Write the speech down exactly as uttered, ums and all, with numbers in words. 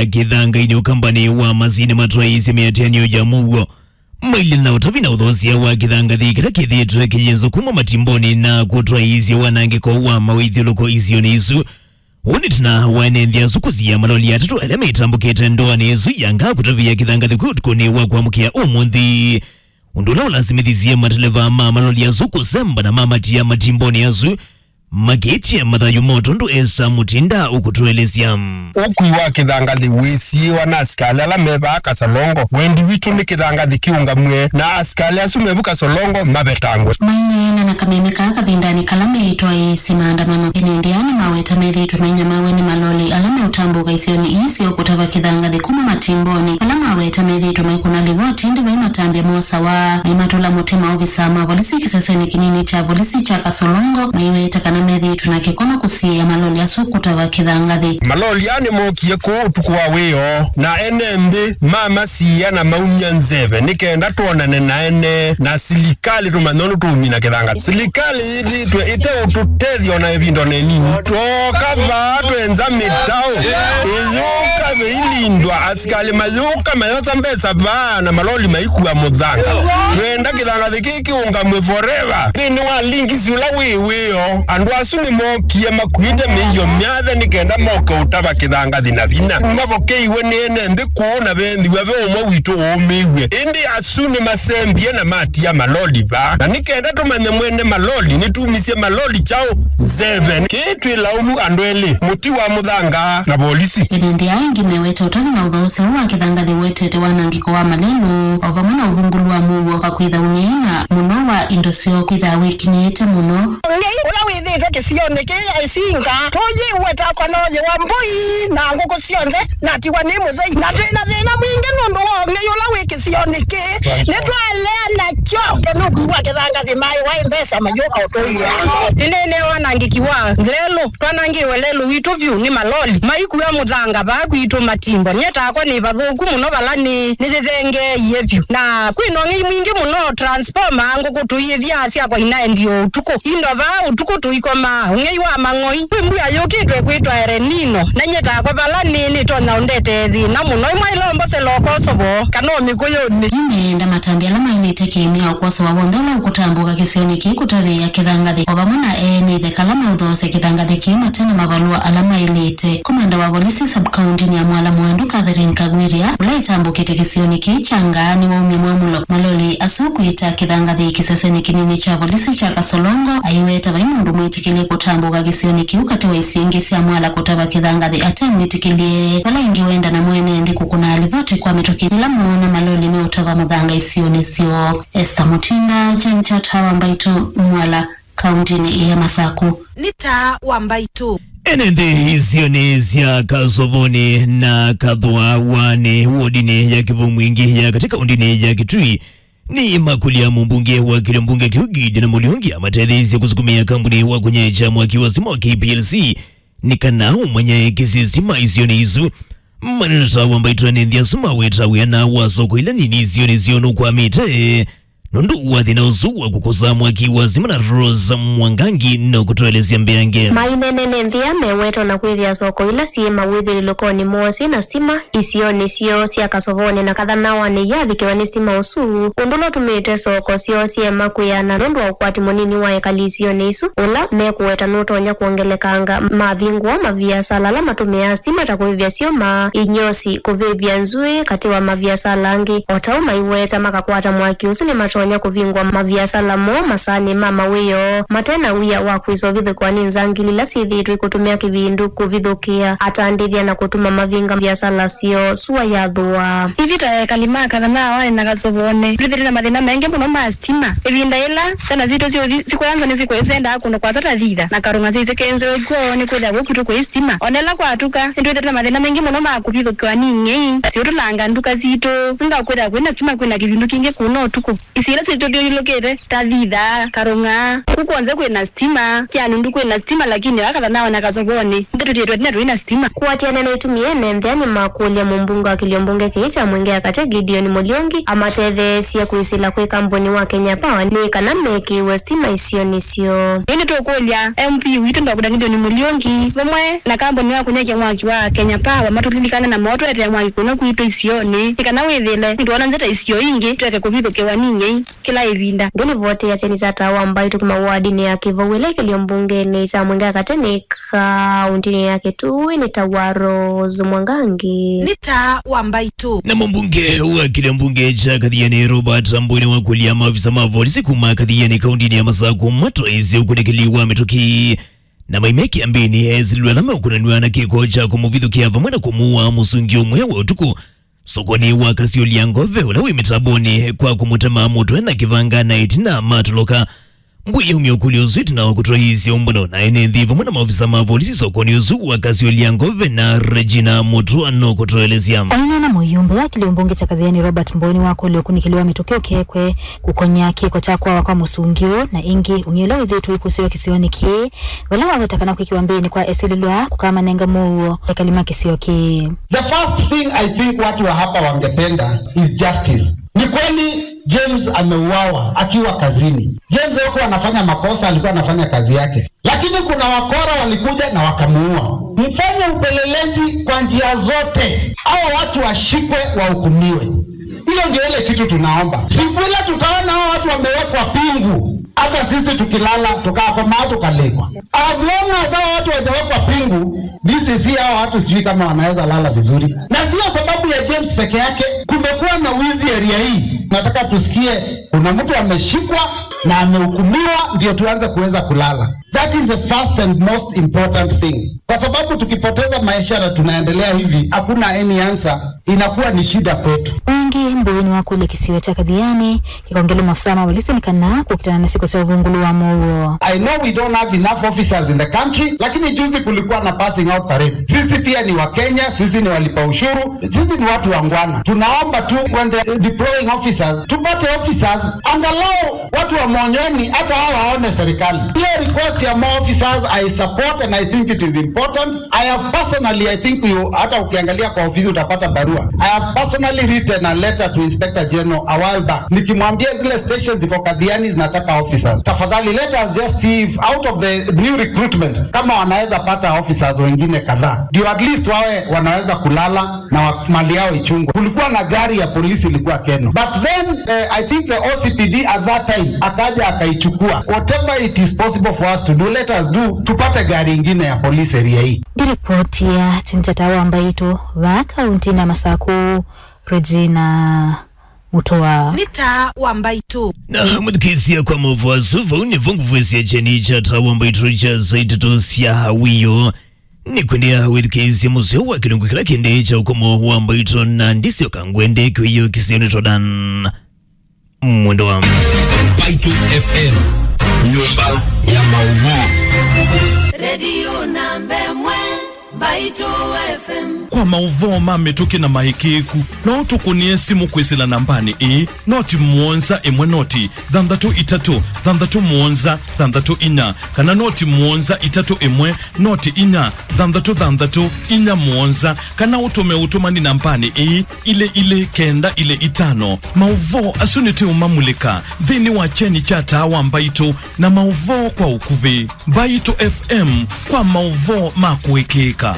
kĩthangainĩ ũkambanĩ wa masinĩ matwaĩĩsye mĩatĩanĩo ya mũuo. Mailye na ũtavi na ũthoosya wa kĩthangathĩ kĩla kĩthĩĩtwe kĩyĩnzwa kuma matimbonĩ na kũtwaĩĩsya wanangĩko wa mawĩthyũlũko isionĩ isu. Ũũ nĩ ĩtina wa ene nthĩ asu kũsiĩa maloli atatũ ala metambũkĩte ndoanĩ ĩsu ya ngaa kũtavĩa kĩthangathĩ kwĩ ũtukũnĩ wa kwamũkĩa ũmũnthĩ. Ũndũ ũla ũlasimĩthisye mateleva ma maloli asu kũsemba na mamatia matimbonĩ asu, makĩtya mathayũ moo tondũ Esther Mutinda ũkũtũelesya. Ũkui wa kĩthangathĩ wĩsiĩwa na asikalĩ ala me vaa Kasolongo. Wendi witũ nĩ kĩthangathĩ kĩũngamw'e na asikalĩ asu me vu Kasolongo mavetangwe. Maineena na kameme kaa kavindanĩ kala meĩtwaĩĩsye maandamano, ene nthĩ aa nĩmaweta methĩĩtwe mainyamaaw'a nĩ maloli ala meũtambũka isionĩ ii syo kũtava kĩthangathĩ kuma matimbonĩ. Vala maweta methĩĩtwe maikũna livoti, ĩndĩ vai matambya mosawa, maimatũla mũtĩ maovisaa ma volisi kĩsesenĩ kĩnini kya volisi kya Kasolongo, maiweta kana methĩĩtwe na kĩkono kũsiĩĩa maloli asu kũtava kĩthangathĩ. Maloli aa nĩmookie kũũ ũtukũ wa wĩoo, na ene nthĩ mamasiĩa na maumya nzeve nĩ kenda twonane na ene na silikalĩ tũmanye ũndũ tũũmina kĩthangathĩ. Silikalĩ yĩthĩĩtwe ĩteũtũtethya ona ĩvinda ona ĩnini. Twooka vaa twenza mĩtaũ ĩyũka ĩilindwa, asikalĩ mayũka mayosa mbesa vaa na maloli maikua mũthanga. Twenda kĩthangathĩ kĩĩ kĩũngamw'e forever. Nthĩnĩ wa lingisi ũla wĩ wĩoo, andũ asu nĩmookie makuĩte mĩio myathe nĩ kenda moke ũtava kĩthangathĩ na vinya. Mavokeiwe nĩ ene nthĩ kũũ na vethĩwa ve ũmwe witũ ũũmĩw'e. Ĩndĩ asu nĩmasembie na matia maloli vaa. Na nĩ kenda tũmanye mwene maloli nĩtumisye maloli kyaũ nzeve. Kĩĩ twĩ laumu andũ elĩ, mũti wa mũthanga na volisi. Ene nthĩ aa angĩ meweta ũtavĩ na ũthoosya ũũ wa kĩthangathĩ ũetete wanangĩko wa malelũ, o vamwe na ũvungũlu wa mũuo wa kwĩtha ũng'ei na mũno wa indo syoo kwĩthaa wĩkinyĩĩte mũno. Ũng'ei ũla wĩthĩĩtwe kĩsionĩ kĩĩ ya Isinga tũyĩweta kwa noyĩ wa mbũi na ngũkũ syonthe natiwa nĩ mũthei, na twĩ na thĩna mwingĩ nũndũ wa ũng'ei ũla wĩ kĩsionĩ kĩĩ. Nĩtwalea nakyo tondũ ũkui wa kĩthangathĩ maĩ waĩ mbesa mayũka ũtũia. Tene wanangĩki wa lelũ, twanangĩwe lelũ witũ vyũ nĩ maloli maikua mũthanga vaa kwitũ matimbo. Nyie takwa nĩ vathũku mũno vala nĩ nĩyĩthengeeie vyũ, na kwĩ na ũng'ei mwingĩ mũno. Transformer ngũkũ tũiyĩthyaa syakwa inaendi o ũtukũ. Indo vaa ũtukũ tũikomaa ũng'ei wa mang'oi. Kwĩ mbua yũkĩtwe kwĩtwa El Nino, na nyie takwa vala nĩ nĩtonya ũndetee thĩna mũno. Ĩmwe ĩla ũmbosela ũkosovo kana o mĩkũyũnĩ. Yu meenda matambya ala maĩlĩte kĩĩmya ũkosoa w'onthe ũla ũkũtambũka kĩsionĩ kĩĩ kũtavĩĩa kĩthangathĩ, o vamwe na ene ĩthe kala meũthoosya kĩthangathĩ kĩĩ mate na mavalũa ala maĩlĩte. Komanda wa volisi sub-county-nĩ ya Mwala Mwandu, Catherine Kagwiria, ũla ĩtambũkĩte kĩsionĩ kĩĩ kya Ngaa nĩwaumya mwamũlo maloli asu kwĩta kĩthangathĩ kĩsesenĩ kĩnini kya volisi kya Kasolongo, aiweta vai mũndũ mwĩtĩkĩlye kũtambũka kĩsionĩ kĩu katĩ wa isionĩ ingĩ sya Mwala kũtava kĩthangathĩ ate mwĩtĩkĩlye. Vala ĩngĩ wenda na mwene nthĩ kũkũna livoti kwa mĩtũkĩ yĩla moona maloli meũtava mũthanga isionĩ syoo. Esther Mutinda, Jane Chata wa Mbaitũ, Mwala, kauntinĩ ya Masaku. Nĩ taa wa Mbaitũ. Ene nthĩ isionĩ sya Kasovonĩ na Kathũa wanĩ wodinĩ ya Kĩvũmwingĩ ya katĩ kauntinĩ ya Kitui nĩmakũlya mũmbunge wa kĩlio mbunge kĩu Gideon Mũliungi amatetheesye kũsukumĩa kambuni wa kũnyeekya mwaki wa stima wa K P L C nĩ kana ũmanyae kĩsisima isionĩ isu. Maneno ta wa Mbaitũ, ene nthĩ asu maweta wĩana wa soko ila nini isionĩ syoo nũkwamĩte nũndũ wa thĩna ũsu wa kũkosa mwaki wa stima, na Rose Mwangangi nũkũtũelesya mbeange. Maineena ene nthĩ aa meweta ona kwĩthĩa soko ila syĩ mawĩthyũlũlũkonĩ moo syĩ na stima isionĩ syoo sya Kasovonĩ na Kathanawanĩ iyavikĩwa nĩ stima ũsu, ũndũ ũla ũtumĩte soko syoo syema kwĩana nũndũ wa ũkwati mũnini wa ekali isionĩ isu, ũla mekũweta nũtonya kwongelekanga mavingũa maviasala ala matũmĩaa stima ta kũĩvya syũma, inyosi, kũvĩvya nzũĩ, katĩ wa maviasala angĩ. O ta ũu maiweta, makakwata mwaki ũsu nĩmatonya kũvingũa maviasala moo, masaanĩ ma mawĩoo, mate na wia wa kwĩsa ũvithũkĩwa nĩ nzangili ila syĩthĩĩtwe ikũtũmĩa kĩvindu kũvithũkĩa atandĩthya na kũtuma mavinga viasala syoo sua yathũa. Ithyĩ ta ekali ma Kathanawanĩ na Kasovonĩ, twĩthĩĩtwe na mathĩna maingĩ mũno ma stima. Ĩvinda yĩla syana sitũ siũthi sikoya nza nĩsikwĩsendaa kũndũ kwasa ta thitha na karũng'a syaisye kenzeo kwoo nĩkwĩthĩwa kũu kwitũ kwĩ stima. O na ĩla kwatuka, nĩtwĩthĩĩtwe na mathĩna maingĩ mũno ma kũvithũkĩwa nĩ ing'ei siũtũlanga nduka sitũ. Nũndũ wa kwĩthĩwa kwĩ na stima kwĩ na kĩvindu kingĩ kũu no ũtukũ. Syĩla syĩtũthyũlũlũkĩte, ta Thitha, Karũng'a, kũ kwonze kwĩ na sitima, Kyanundu kwĩ na sitima, lakini aka Thanawe na Kasovonĩ, nĩtũtĩtwe tina tũi na sitima. Kũatĩanĩa na ĩtumi yene nthĩanĩ makũlya mũmbunge wa kĩlio mbunge kĩĩ kya Mwingi ya Katĩ Gideon Mũliungi amatetheesye kwĩsĩla kwĩ kambuni wa Kenya Power nĩ kana mekĩĩwe sitima isionĩ syoo. Yu nĩtũkũlya M P witũ Doctor Gideon Mũliungi vamwe na kambuni wa kũnyaĩĩkya mwaki wa Kenya Power matũlilikane na motũetee mwaki kũno kwitũ isionĩ, nĩ kana wĩthĩle nĩtwoona nzĩa ta isio ingĩ tweke kũvithũkĩwa nĩ nyei kĩla ĩvinda. Nthĩ livoti ya kyeni kya Taa wa Mbaitũ kuma wardinĩ ya Kĩvau ĩla ĩkĩlio mbungenĩ kya Mwingi ya Katĩ nĩ kaũntĩnĩ ya Kitui nĩ ta wa Rose Mwangangi. Nĩ Taa wa Mbaitũ. Na mũmbunge wa kĩlio mbunge kya Kathiani Robert Mbũi nĩwakũlya maofisa ma volisi kuma Kathiani kaũntĩnĩ ya Masakũ matwaĩĩsye ũkunĩkĩli wa mĩtũkĩ na maime kĩambĩnĩ esilwe ala meũkunanw'a na kĩko kya kũmũvithũkĩa vamwe na kũmũũa mũsungi ũmwe wa ũtukũ sokonĩ wa Kasiũlya Ngove ũla wĩ mĩtambonĩ kwa kũmũtema mũtwe na kĩvanga na ĩtina matoloka. Mbũi yaumya ũkũlyo ũsu ĩtina wa kũtwaĩĩsya ũmbano na ene nthĩ vamwe na maofisa ma volisi sokonĩ ũsu wa Kasiũlya Ngove na Regina Mũtũa no kũtũelesya. Aineena mũyumbe wa kĩlio mbunge kya Kathiani Robert Mbũi nĩwakũlya ũkunĩkĩli wa mĩtũkĩ ũkekwe kũkony'a kĩko kya kwawa kwa mũsungi ũũ na ĩngĩ ũng'ei ũla wĩthĩĩtwe ũikũsĩwa kĩsionĩ kĩĩ vala waweta kana kwĩkĩwa mbĩnĩ kwa esilĩlwa kũkamanenga mũuo ekali ma kĩsio kĩĩ. The first thing I think watu wa hapa wangependa is justice. Ni kweli James ameuawa akiwa kazini. James hakuwa anafanya makosa, alikuwa anafanya kazi yake. Lakini kuna wakora walikuja na wakamuua. Mfanye upelelezi kwa njia zote. Hao watu washikwe, wahukumiwe. Hiyo ndio ile kitu tunaomba. Siku ile tutaona hao watu wamewekwa pingu, hata sisi tukilala, tukakoma, tukalekwa. As long as hao watu hawajawekwa pingu, D C C, hao watu sijui kama wanaweza lala vizuri. Na sio sababu ya James peke yake, kumekuwa na wizi area hii. Nataka tusikie kuna mtu ameshikwa na amehukumiwa, ndio tuanze kuweza kulala. That is the first and most important thing. Kwa sababu tukipoteza maisha na tunaendelea hivi, hakuna any answer, inakuwa ni shida kwetu. Ĩngĩ, Mbũi nĩwakũlya kĩsio kya Kathiani kĩkongelwe maofisa ma volisi nĩ kana kũkitana na syĩko sya ũvungũlu wa mũuo. I know we don't have enough officers in the country, lakini juzi kulikuwa na passing out parade. Sisi pia ni Wakenya, sisi ni walipa ushuru, sisi ni watu wangwana. Tunaomba tu when the deploying officers, tupate officers, angalau watu wa Monyweni hata hao waone serikali. Hiyo request ya more officers, I support and I think it is important. I have personally, I think you, hata ukiangalia kwa ofisi utapata barua. I have personally written a letter to Inspector General a while back, nikimwambia zile stations ziko Kathiani zinataka officers. Tafadhali, let us just see if out of the new recruitment, kama wanaweza pata officers wengine kadhaa. Ndio at least wawe wanaweza kulala na wa-, mali yao ichungwe. Kulikuwa na gari ya polisi ilikuwa Keno. But then, eh, I think the O C P D at that time akaja akaichukua. Whatever it is possible for us to do, let us do. Tupate gari ingine ya polisi area hii. Nĩ ripoti ya kyeni kya Taa wa Mbaitũ vaa kaũntĩnĩ ya Masakũ, Regina Mũtũa. Nĩ Taa wa Mbaitũ. Na mũthikĩĩsya kwa maũvoo asu, vau nĩvo ngũvwĩsya kyeni kya Taa wa Mbaitũ kya saa itatũ sya wĩoo. Nĩkwendea wĩthukĩĩsye mũseo wa kĩlungu kĩla kĩndĩ kya ũkomo wa mbaitũ na ndisyoka ngwende kĩwĩo kĩseo nĩ Todan Mwendo wa Mbaitũ F M, nyũmba ya maũvoo. Redio namba ĩmwe, Mbaitũ F M. Kwa maũvoo ma mĩtũkĩ na maĩkĩĩku, no ũtũkũnĩe simũ kwĩsĩla nambanĩ ĩĩ, noti mũonza ĩmwe noti thanthatũ itatũ thanthatũ mũonza thanthatũ inya, kana noti mũonza itatũ ĩmwe noti inya thanthatũ thanthatũ inya mũonza, kana ũtũme ũtũmani nambanĩ ĩĩ, ilĩ ilĩ kenda ilĩ itano. Maũvoo asu nĩtũũmamulĩka nthĩnĩ wa kyeni kya Taa wa Mbaitũ na maũvoo kwa ũkuvĩ. Mbaitũ F M kwa maũvoo ma kũĩkĩĩka.